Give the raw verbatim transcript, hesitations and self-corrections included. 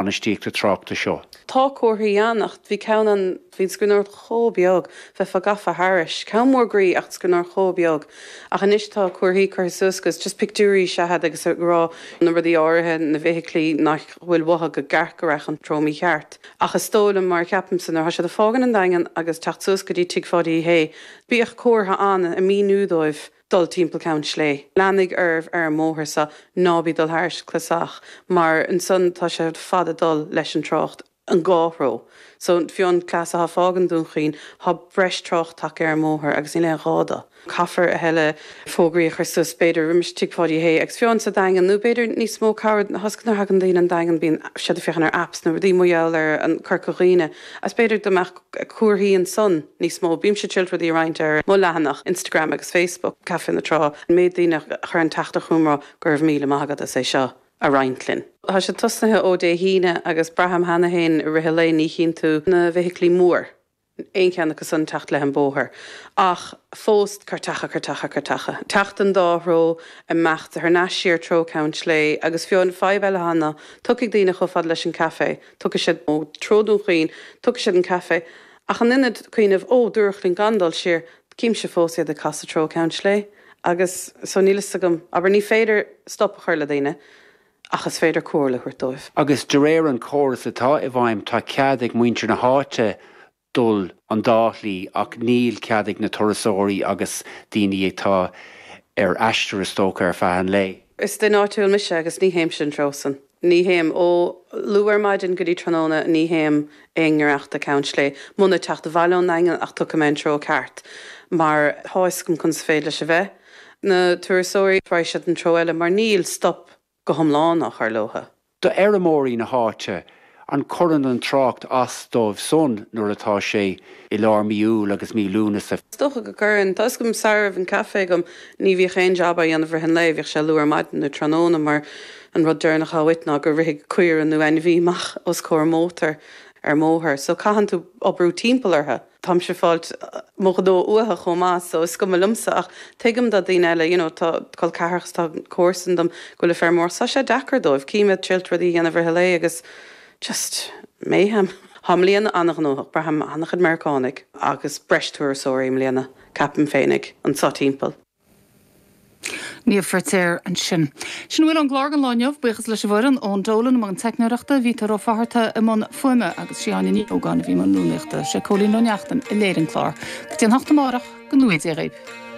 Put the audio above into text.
bainistíochta tráchta seo. Tá comharthaí ann ach bhí ceann ann bhí an scríbhneoireacht chomh beag, bheifeá gafa thairis. Ceann mór groí ach scríbhneoireacht chomh beag. Ach anois tá comharthaí curtha suas agus just pictiúirí is ea iad agus ag rá na rudaí áirithe, na bhfeithiclí nach bhfuil uathu go gceart go raibh an treo mícheart. Ach is dóigh liom mar ceapaimse nuair atá siad ag fágaint an Daingean agus teacht suas go dtí Tigh Pháidí Uí Shé, bíodh comhartha ann ag míniú dóibh dul timpeall Ceann Slé. Leanaigí oraibh ar an mbóthar seo ná bí dul thairis clasach mar ansan tá sé fada dul leis an trácht an dhá threo. So fiú an cleas atá fágaint Dún Chaoin tá breis trácht tagtha ar an mbóthar agus níl aon ghá dó. Caithfear a thuilleadh fógraí a chur suas b'fhéidir roimis Tigh Pháidí Uí Shé agus fiú sa Daingean nó b'fhéidir níos mó cabhair thosaigh nuair a thagann daoine an Daingean bíonn siad ag féachaint ar apps nó rudaí mar gheall ar an Corca Dhuibhne agus b'fhéidir go mbeadh comharthaí ansan níos mó. Bímse ag triail rudaí a roinnt ar mo leathanach Instagram agus Facebook Caife na Trá. An méid daoine a chuir an teachtaireacht chugam ag rá go raibh míle maith agat as é seo a roinnt linn. Tá sé tosnaithe ó Dé hAoine agus braithim cheana féin i rith an lae ní chíonn tú na bhfeithiclí mór aon cheann acu san teacht leis an bóthar. Ach fós cairteacha cairteacha cairteacha. Teacht an dá threo imeacht thar n-ais siar treo Ceann Slé agus fiú an fadhb eile ná tiocfaidh daoine chomh fada leis an caife, tiocfaidh siad ó treo Dún Chaoin, tiocfaidh siad an caife, ach in ionad cuimhneamh ó dúradh linn gan dul siar, címse fós iad ag casadh treo Ceann Slé. Agus so níl fhios agam, abair ní féidir stop a chur le daoine, ach is féidir comhairle a thabhairt dóibh. Agus de réir an córas atá i bhfeidhm tá cead ag muintir na háite dul an dá shlí ach níl cead ag na turasóirí agus daoine atá ar aistear is dócha ar feadh an lae. Is duine áitiúil mise agus ní théimse an treo san. Ní théim ó luath ar maidin go dtí tráthnóna ní théim aon ngiorracht do Ceann Slé. Muna teacht abhaile ón nDaingean ach tiocfaidh mé an treo ceart, mar tá fhios agam conas féidir leis a bheith. Na turasóirí raghaidh siad an treo eile mar níl stop go hiomlán á chur leotha. Do fheirmeoirí na háite an gcuireann an trácht as dóibh san nuair atá sé i lár mí Iúil agus mí Lúnasa. Is dócha go gcuireann Tá gom sarbh an caife agam ní bhíodh aon jab á dhéanamh i rith an lae, bhíodh sé luath ar maidin nó tráthnóna mar an rud deireanach atá uait ná go rithfidh caora nó ainmhí amach os comhair mótar ar mbóthar, so caitheann tú oibriú timpeall orthu. Táimse fáilt mo ghnó uathu chomh maith, so is cuma liomsa ach tuigim do daoine eile, you know, tá col ceathracha tá comharsan dom go bhfuil feirmeoir tá sé deacair dóibh, cím iad triail rudaí a dhéanamh i rith an lae agus just mayhem. Tá mbliana an-ghnóthach, braithim an-chuid Meiriceánaigh agus breis turasóirí i mbliana, ceapaim féinig anseo timpeall. Niamh Feirtéar ansin. Sin bhfuil an glár an lá inniu buíochas leis an bhfoireann ón Dolan an teicneoireachta Vítor Ó Fátharta i mbun fuaime agus Siáine Ní Ógáin a bhí i mbun rúnaíochta sé Cóilín Ó Neachtain a léirigh an clár. Go dtí an hocht amárach go ngnóthaí Dia dhaoibh.